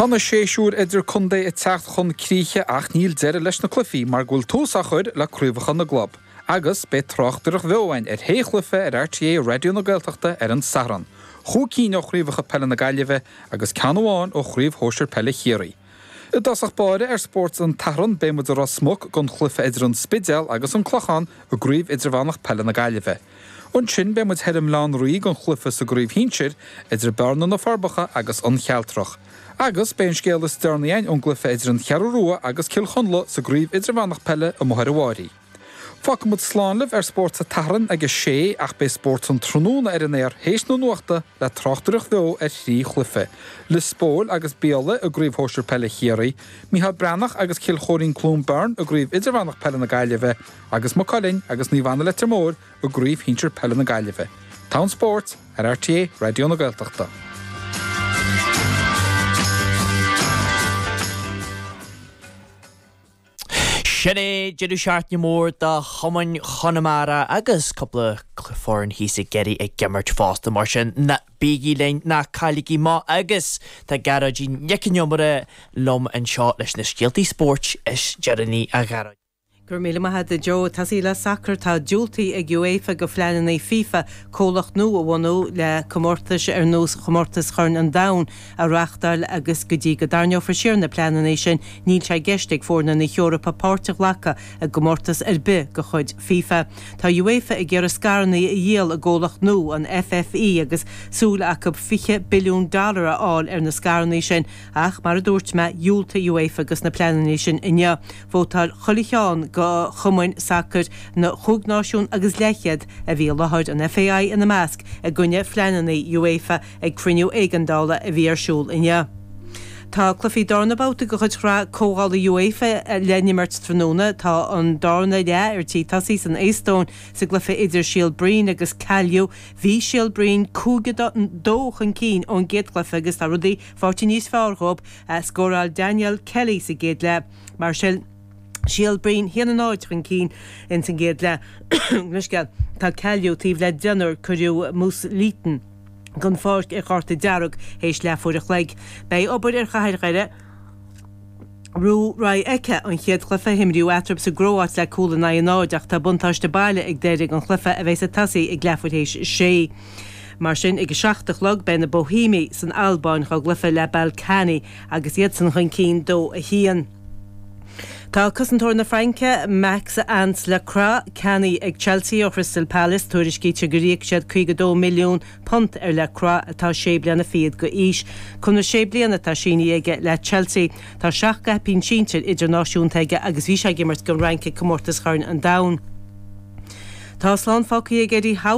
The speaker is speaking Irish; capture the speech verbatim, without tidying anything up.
Tá na séasúir idirchontae ag teacht chun críche ach níl deireadh leis na cluichí mar go bhfuil tús á chur le craobhacha na gclub. Agus beidh tráchtaireacht bheo againn ar shé chluiche ar RTÉ Raidió na Gaeltachta ar an Satharn. Chúig cinn ó chraobhacha peile na Gaillimhe agus ceann amháin ó chraobh shóisir peile Chiarraí. I dtosach báire ar Spórt an tSathairn beidh muid i Ros Muc don chluiche idir an Spidéal agus an Clochán i gcraobh idirmheánach peile na Gaillimhe. Ansin beidh muid thoir i mBaile Átha an Rí don chluiche sa gcraobh shinsir idir Bearna na Forbacha agus an Chealtrach. Agus beidh an scéal is deireanaí againn ón gcluiche idir an Cheathrú Rua agus Cill Chonla sa gcraobh idirmheánach peile amuigh ar an Bháirí. Fágfaidh muid slán libh ar Spórt an tSathairn ag a sé ach beidh Spórt an Tráthnóna ar an aer théis na nuachta le tráchtaireacht bheo ar thrí chluiche. Lios Póil agus Béal i gcraobh shóisir peile Chiarraí, Mícheál Breathnach agus Cill Chóirín Cluain Bheirn i gcraobh idirmheánach peile na Gaillimhe agus Maigh Cuilinn agus Naomh Anna Leitir Móir i gcraobh shinsir peile na Gaillimhe. Tonn Spóirt ar RTÉ Raidió na Gaeltachta. Sin é deireadh seachtaine mór do chumainn Chonamara agus cúpla foireann thíos i gCiarraí ag imirt fosta mar sin ná bígí linn ná cailligí amach agus tá Gearóidín Nic an Iomaire liom anseo leis na scéaltaí spóirt is deireanaí a Ghearóid. Go raibh míle maith agat a Joe. Tosaí le sacar tá diúltaithe ag UEFA do phleananna FIFA comhlacht nua a bhunú le comórtais ar nós chomórtas Chorn an Domhain a reáchtáil agus go dtí go dtarraingeofar siar na pleananna sin níl sé i gceist ag foirne na hEorpa páirt a ghlacadh i gcomórtas ar bith de chuid FIFA. Tá UEFA ag iarraidh scaireanna a dhíol i gcomhlacht nua, an FFE, agus súil acu fiche billiún dollar a fháil ar na scaireanna sin ach mar a dúirt mé dhiúltaigh UEFA dos na pleananna sin inniu. Vótáil chuile cheann de chumainn sacair na chúig náisiún agus leathchéad a bhí i láthair, an FAI ina measc, i gcoinne phleananna UEFA ag cruinniú éigeandála a bhí ar siúl inniu. Tá cluichí darna babhta de chuid Shraith Comhdhála UEFA le n-imirt tráthnóna. Tá an darna leath ar tí tosaí san Eastóin sa gcluiche idir Síol Bhriain agus Kalju. Bhí Síol Bhriain cúig a dó chun cinn ón gcéad chluiche agus tá rudaí faighte níos fearr dhóibh. Scóráil Daniel Kelly sa gcéad leath. Mar sin. Síol Bhriain haon a náid chun cinn ins an gcéad leath. Leithscéal, Tá Kalju taobh le deichniúr, cuireadh Moose Lehtonen den pháirc ar chárta dearg théis leathuair a chloig. Beidh obair ar Chathair Dhoire roimh Rijeka an chéad chluiche a himríodh eatarthu sa gCróit le cúl in aghaidh a náid ach tá buntáiste baile ag Doire don chluiche a bheas ag tosaí ag leathuair théis a sé. Mar sin ag a seacht a chlog beidh na Boihéamaigh san Albáin dá gcluiche le Ballkani agus iadsan chun cinn dó a haon. Tá cosantóir na Fraince, Maxence Lacroix, ceannaithe ag Chelsea ó Chrystal Palace. Tuairiscítear gur íoc siad caoga dó milliún punt ar Lacroix, atá sé bliana fichead d'aois. Conradh sé bliana atá sínithe aige le Chelsea. Tá seacht gcaipín sinsir idirnáisiúnta aige agus bhí sé ag imirt don Fhrainc ag Comórtas Chorn an Domhain. Tá slán fágtha ag Eddie Howe.